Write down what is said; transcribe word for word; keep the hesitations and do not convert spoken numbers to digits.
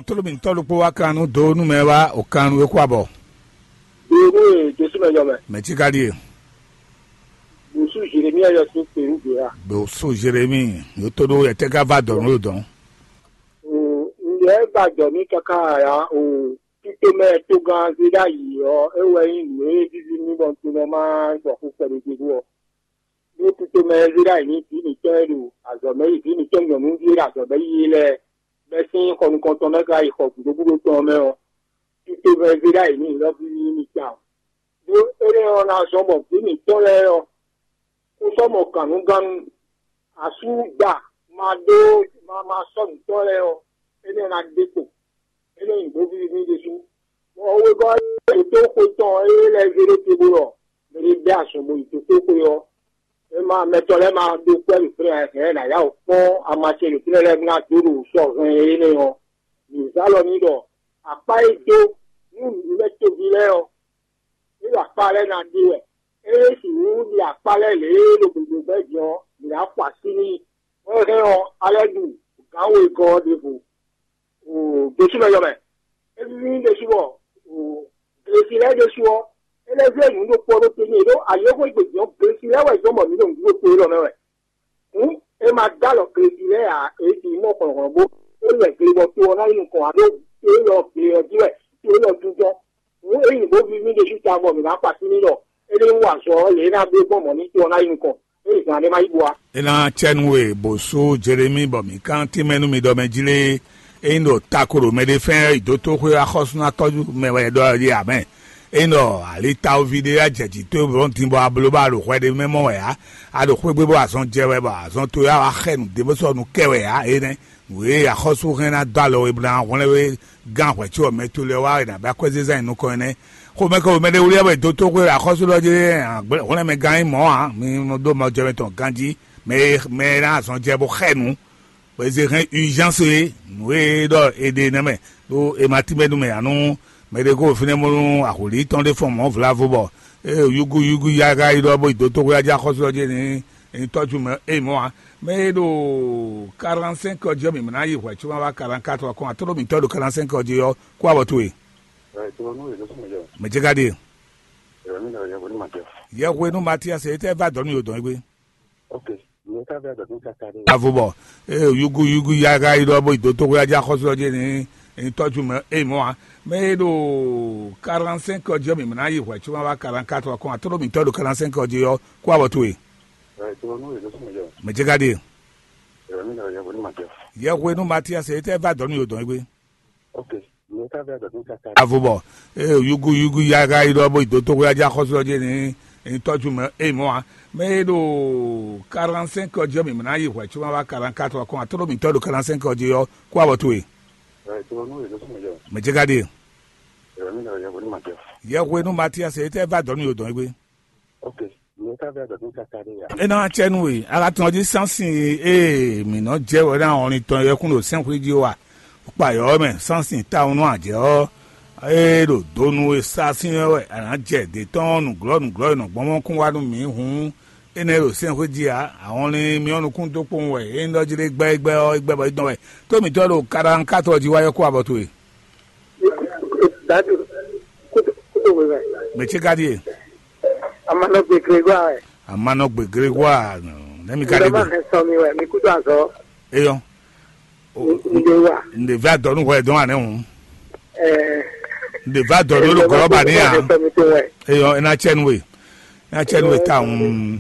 Tlóló mǐtɔn ɖokpó wá kan nú dó nú mɛ wá o kan nú é kú abɔ. Ɖo nú e Jesu mɛ yɔ mɛ. Mɛ cí ka ɖíe. Bùsú Jeremíya yɔ sín kpé nú gbéra. Bùsú Jeremíya yótó ɖó yɛtɛ́ ká va dɔ̌n ɖó dɔ̌n. Ǹjẹ́ gbàgbọ́ mi káká ya o títí mɛ tó gán zé ɖ'ayǐ ɔ́, é wɛ nyí nǔ e víví mì bɔ un tunɔ má gbɔ xú kpɛɖé gbégbé ɔ́. Ɖó tito mɛ e zé ɖ'ayǐ nú vǐ mǐtɔn e ɖo azɔ̌ mɛ yi, vǐ mǐtɔn nyɔ̌nuví e ɖo azɔ̌ mɛ yi é lɛ́ɛ, bɛ́ sín xɔ nukɔntɔn mɛ ka yi xɔ gǔdo gúdo tɔn ɔ́ mɛ ɔ́, tito mɛ e zé ɖ'ayǐ nú nǔɖɔ́ví ní tawun. Ɖó énɛ́ ɔ́ ná zɔ́n bɔ vǐ mǐtɔn lɛ́ɛ ɔ́, kó sɔ́ mɔ gǎnnugánnu asú da ma ɖó ma ma sɔ́ nǔtɔ́ lɛ́ɛ ɔ́, énɛ́ ná ɖe kpo. Énɛ́ nyí nǔgbó víví n'i ɖésú. Bɔ wegɔ́ ɖo tó xwe tɔn e lɛ́ zé ɖó te bó ɖɔ mɛ ɖé bɛ́ azɔn bo yi dotóxwe ɔ́, é ma mɛtɔn lɛ́ɛ ma ɖó kwɛ́ ɖo fínɛ́ ǎ, hɛ̌n nǎ yá wǔ kpɔ́n ama ce ɖo fínɛ́ lɛ́ɛ ná dó ɖo sɔ hɛn énɛ́ ɔ́, mǐ zá lɔ n'i ɖɔ akpá e dó nú nǔmɛtoví lɛ́ɛ ɔ́, é ɖo akpá lɛ́ɛ ná ɖe wɛ. É sixú ɖi akpá lɛ́ɛ lě e ɖo gběgbé gbɛ́ din ɔ́, mǐ ná xo así n'i. Bɔ é hɛn ɔ́, alɛ́ ɖu gǎn wegɔ́ ɔ́ ɖěvo. Ɖésú mɛ yɔ mɛ. É víví n'i ɖésú bɔ glesi lɛ́ɛ ɖésú ɔ́, é lɛ́ zé nǔ ɖokpó ɔ́ ɖó te n'i ɖó alǐxó e gbe din ɔ́, glesi lɛ́ɛ wɛ zɔ́n bɔ mǐ ɖo nǔɖuɖu towe lɔ mɛ wɛ. Hǔn, é ma dó alɔ glesi lɛ́ɛ ǎ, é ji mɔ hlɔ̌nhlɔ́n bó é lɛ gle bɔ to ɔ́ ná yi nukɔn ǎ ɖó to élɔ́ gle ɔ́ jí wɛ to élɔ́ dúdɔ́. Hǔn, é yi nǔ bó víví ɖésú tawun bɔ mǐ ná kpa sín n'i ɖɔ é ní wa azɔ̌ ɔ́ lě e é ná bló gbɔn mɔ̌ ní to ɔ́ ná yi nukɔn, é yi zǎn ɖé má yi bo wá. É ná cɛ nú we bó sú Jelemíi bɔ mǐ kán tínmɛ nú mi ɖɔ mɛ jí lé, é nyí ɖo tako ɖo mɛɖé fɛ́n yi dó tóxwé axɔ́súnatɔ́ mɛ wɛ ɖɔ é ɖe ǎ mɛ. É nyí ɖɔ ali tawuví ɖé wá jɛ jǐ towe blɔ́ din bɔ a bló bɔ a ɖo hwɛ ɖé mɛ mɔ wɛ ǎ. A ɖo xwé gbe bɔ azɔn jɛ wɛ bɔ azɔn towe wá wá xɛ nǔ ɖé bó sɔ́ nǔ kɛ wɛ ǎ énɛ́. Nǔ e axɔ́sú hɛn ná dó alɔ we bó ná hwlɛ́n we gán hwɛ̌ có mɛ to lɛ́ɛ wá è nǎ bɛ́ akwɛ́zezán nyi nukɔn ɛnɛ́. Xomɛ kɛ womɛ ɖé wlí wɛ dó tóxwé axɔ́sú lɔ jí hwlɛ́nmɛ gán nyí mɔ̌ ǎ, mi nɔ dó mɔjɛmɛ tɔn ganjí, mɛ e mɛ e ná azɔn jɛ bó xɛ nǔ, bɔ è zé hɛn urgence e nǔ e ɖɔ è ɖe nɛ́ mɛ, ɖó è ma tínmɛ nú mɛ ǎ nú mɛ ɖé kó fínɛ́ bónú ahwǐlí tɔn ɖé fɔn mɔ̌ vlavo bɔ é yúgú yúgú yáyá yi ɖɔ bó yi dó tóxwé jí axɔ́sú ɔ́ jí ní ní tɔ́jú mɛ é mɔ̌ ǎ. Mɛ e ɖo quarante-cinq ɔ́ jí ɔ́, mǐ ná yi hwɛ̌ có má wá quarante-quatre ɔ́ kɔn, atlɔ́ mǐtɔn e ɖo quarante-cinq ɔ́ jí ɔ́ kú abɔ towe. Mɛ ce ka ɖe? Yɛhwenu Matias, e tɛ va dɔ̌ nú yǒdɔn égbé. Avo bɔ, eye yúgú yúgú yáyá yi ɖɔ bó yi dó tóxwé jí axɔ́sú ɔ́ jí ní ní tɔ́jú mɛ é mɔ̌ ǎ. Mɛ e ɖo quarante-cinq ɔ́ jí ɔ́, mǐ ná yi hwɛ̌ có má wá quarante-quatre ɔ́ kɔn, atlɔ́ mǐtɔn e ɖo quarante-cinq ɔ́ jí ɔ́ kú abɔ towe. Mɛ ce ka ɖe? Yɛhwenu Matias, e tɛ va dɔ̌ nú yǒdɔn égbé. Avo bɔ, eye yúgú yúgú yáyá yi ɖɔ bó yi dó tóxwé jí axɔ́sú ɔ́ jí ní ní tɔ́jú mɛ é mɔ̌ ǎ. Mɛ e ɖo quarante-cinq ɔ́ jí ɔ́, mǐ ná yi hwɛ̌ có má wá quarante-quatre ɔ́ kɔn, atlɔ́ mǐtɔn e ɖo quarante-cinq ɔ́ jí ɔ́ kú abɔ towe. Mɛ ce ka ɖe? Yɛhwenu Matias, e tɛ va dɔ̌ nú yǒdɔn égbé. É ná wá cɛ nú we, a ka tɔn jí sánsin e mǐ nɔ jɛ wɛ ná wɔn tɔn yɛkún ɖo sɛ́nxwé jí wa. Kpa yɔ̌ mɛ sánsin tawun nú ajɛ ɔ́, e ɖo do nú we sá sín wɛ a nǎ jɛ dě tɔn nǔglɔ́ nǔglɔ́ e nɔ gbɔn mɔ kún wá nú mǐ hǔn, énɛ́ ɖo sɛ́nxwé jí ǎ. Ahɔn ní myɔ́ nukún dó kpowun wɛ é nyí ɖɔ jí ɖé gbɛ́ é gbɛ́ ɔ́ é gbɛ́ bɔ é dɔn wɛ. Tó mǐtɔn ɖo kaɖankátɔ jí wá yɔ́ kú abɔ towe. Dadu, kutu kutu wɛ. Mɛ ce ka ɖie? Amanɔgbe Grégoire wɛ. Amanɔgbe Grégoire, nɛmi ka ɖe Ndɔba gbe? Hɛn sɔ mi wɛ, mi kutu azɔ. Eyɔ. N de wa. N de vɛ adɔ nu hwɛ dɔn anɛ hun. Ɛɛ. N de vɛ adɔ nu lo gɔlɔ ba ni a. Hɛn sɔ mi to wɛ. Eyɔ, ena cɛ nu we. Ena cɛ nu we ta hun.